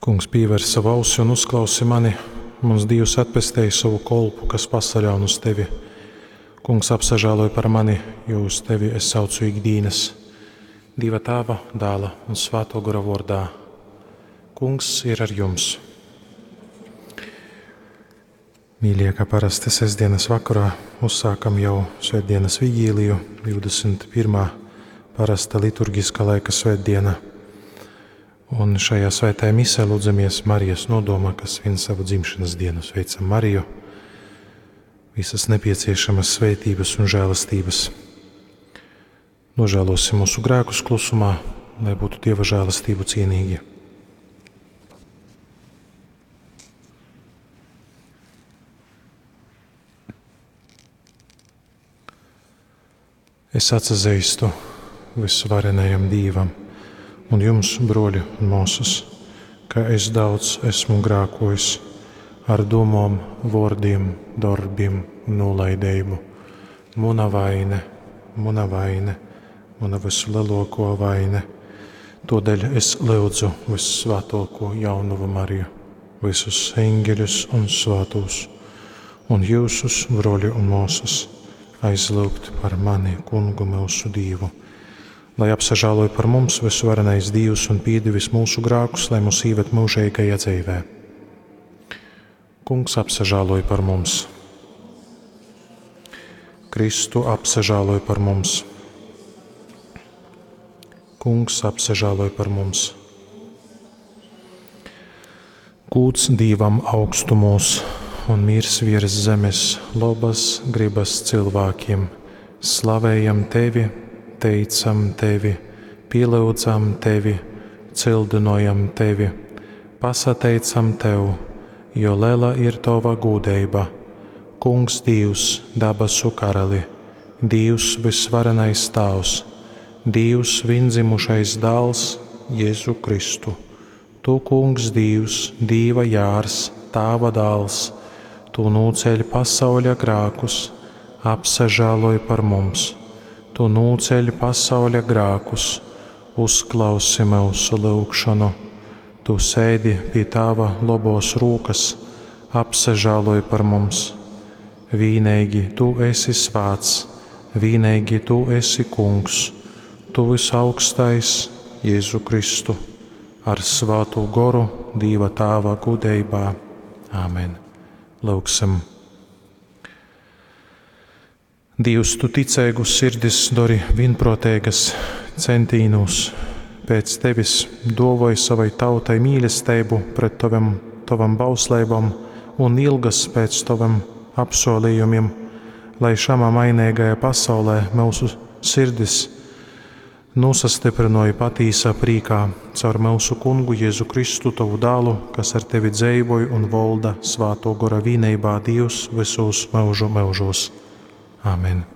Kungs, pīver savu ausi un uzklausi mani. Muns Dīvs atpestej sovu kolpu, kas pasaļaun uz tevi. Kungs, apsažāloj par mani, jo uz tevi es saucu ikdīnas. Dīva Tāva, Dāla un Svāto Gora vōrdā. Kungs ir ar jums. Mīļie, kā parasti sestdienas vakarā uzsākam jau svētdienas vigīliju, 21. parasta liturgiskā laika svētdiena. Un šajā svētajā misē lūdzamies Marijas nodomā, kas svin savu dzimšanas dienu. Sveicam Mariju, visas nepieciešamas svētības un žēlastības. Nožēlosim mūsu grēkus klusumā, lai būtu Dieva žēlastību cienīgi. Es atsazīstu visvarenajam Dīvam un jums, broļi un māsas, ka es daudz esmu grēkojis ar domām, vārdiem, darbiem un nolaidību. Muna vaine, muna vaine, muna vislielāko vaine. Todēļ es lūdzu vissvētāko jaunavu Mariju, visus eņģeļus un svētos, un jūsus, broļi un māsas, aizlūgt par mani, kungu mūsu Dievu. Lai apsažāloj par mums visvarenais Dievs un piedevis mūsu grēkus, lai mūs īved mūžīgajā dzīvē. Kungs apsažāloj par mums. Kristu apsažāloj par mums. Kungs apsažāloj par mums. Gūds Dīvam augstumos un mirs virs zemes, labas gribas cilvēkiem. Slavējam tevi, teicam tevi, pielūdzam tevi, cildinojam tevi, pasateicam tev, jo liela ir tava gūdeiba. Kungs Dievs, dabasu karali, Dievs visvarenais Tāvs, Dievs viendzimušais dāls, Jēzu Kristu. Tu, Kungs Dievs, Dīva jārs, Tāva dāls, Tu nūceļ pasauļa grākus, apsažāloj par mums. Tu nūceļ pasauļa grākus, uzklausi mūsu lūgšanu. Tu sēdi pie Tāva lobos rūkas, apsažāloj par mums. Vīneigi Tu esi svāts, vīneigi Tu esi Kungs, Tu visaugstais Jēzu Kristu, ar svātu goru Dīva Tāva gudrībā. Āmen. Lūgsim. Dievs, tu ticīgus sirdis dari vienprātīgas centīnus pēc tevis dovoj savai tautai mīlestību pret tavam, tavam bausleibam un ilgas pēc tavam apsolījumiem, lai šamā mainīgajā pasaulē mūsu sirdis nosastiprinoja patīsā prīkā caur mūsu kungu Jēzu Kristu, tavu dālu, kas ar tevi dzeivoja un volda svāto gora vīneibā Dievs visos mūžu mūžos. Āmen.